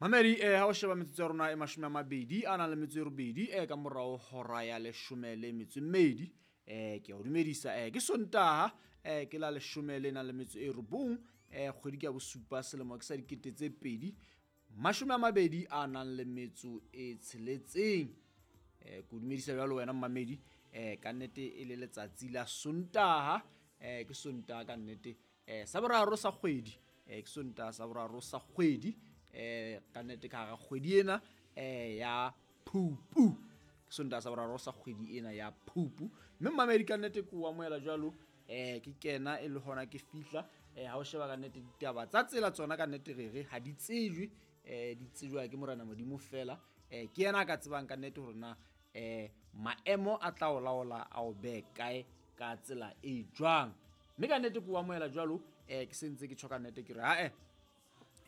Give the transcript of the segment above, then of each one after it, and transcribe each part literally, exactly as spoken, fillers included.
Mamedi, eh ha o sheba metsotso ya rona e mashome a mabedi a nang le metso e robedi eh ka morao hora ya leshome le metso e mmedi, eh ke a o dumedisa. eh ke Sontaha, eh ke la leshome le nang le metso e robong, eh kgwedi ke ya bosupa, selemo ke sa dikete tse pedi mashome a mabedi a nang le metso e tsheletseng. Eh ke o dumedisa jwalo wena mmamedi, eh ka nnete e le letsatsi la Sontaha, eh ke Sontaha ka nnete, eh sa boraro sa kgwedi, eh ke Sontaha sa boraro sa kgwedi, eh ka nnete ka hara kgwedi ena eh ya Phupu, ke Sontaha sa boraro sa kgwedi ena ya Phupu. Mme mmamedi ka nnete ke o amohela jwalo, eh ke kena e le hona ke fihla. eh ha o sheba ka nnete ditaba tsa tsela tsona ka nnete re re ha di tsejwe, eh di tsejwa ke Morena Modimo fela, eh ke yena a ka tsebang ka nnete hore na eh maemo a tla o laola a o behe kae ka tsela e jwang. Mme ka nnete ke o amohela jwalo, eh ke sentse ke tjho ka nnete ke re ha-eh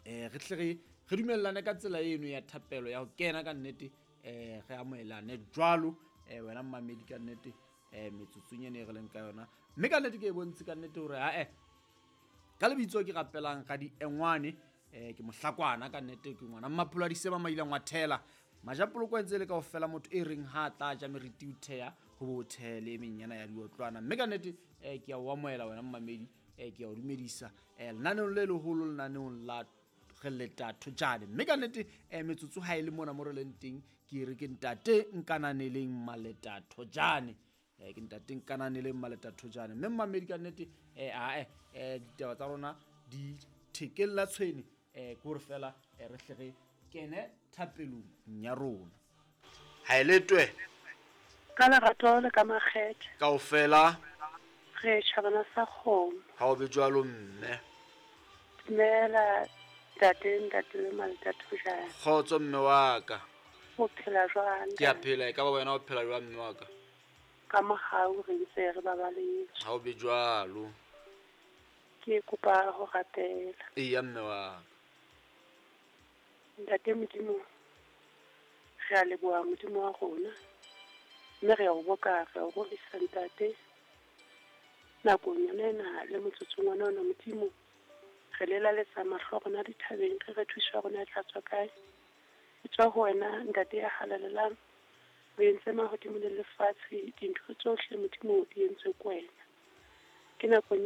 eh re tle re re dumellane ka tsela eno ya thapelo ya ho kena ka nnete, eh re amohelane jwalo, eh wena mmamedi ka nnete, eh metsotsong ena e re leng ka yona. Mme ka nnete ke e bontshe ka nnete hore ha-eh ka lebitso ke rapelang ka diengwane, eh ke mohlakwana ka nnete, ke ngwana Mmapholo a Disema Maileng wa Thela Majapoloko entse le kaofela, motho e reng ha tla ja meriti o theha ho bo thele e menyana ya diotlwana. Mme ka nnete eh ke a o amohela wena mmamedi, eh ke a o dumedisa eh lenaneong le leholo, lenaneong la re leta thojane. Mme ka nnete eh metsotso ha e le mona mo re leng teng, ke re ke ntate Nkananeleng Maleta Thojane, eh ke ntate Nkananeleng Maleta Thojane. Mme mmamedi ka nnete eh ae eh ditaba tsa rona di thekella tshwene, eh ke hore fela eh re hle re kene thapelong ya rona. Ha e letwe ka lerato le ka makgethe kaofela re tjhabana sa kgomo. Ha o be jwalo mme. Dumela ntate, ntate le Maleta Thojane. Kgotso mme wa ka. O phela jwang? Ke a phela, e ka ba wena o phela jwang mme wa ka? Ka mohau re ntse re babaletswe. Ha o be jwalo. Ke kopa ho rapela. Eya mme wa ka. Ntate Modimo, re a leboha Modimo wa rona, mme re a o boka, re a o rorisa ntate. Nakong yona ena le motsotsong ona ona Modimo, re lelaletsa mahlo a rona dithabeng, re re thuso ya rona e tla tswa kae? E tswa ho wena ntate ya halalelang, o entse mahodimo le lefatshe, dintho tsohle Modimo di entswe ke wena. Ke nakong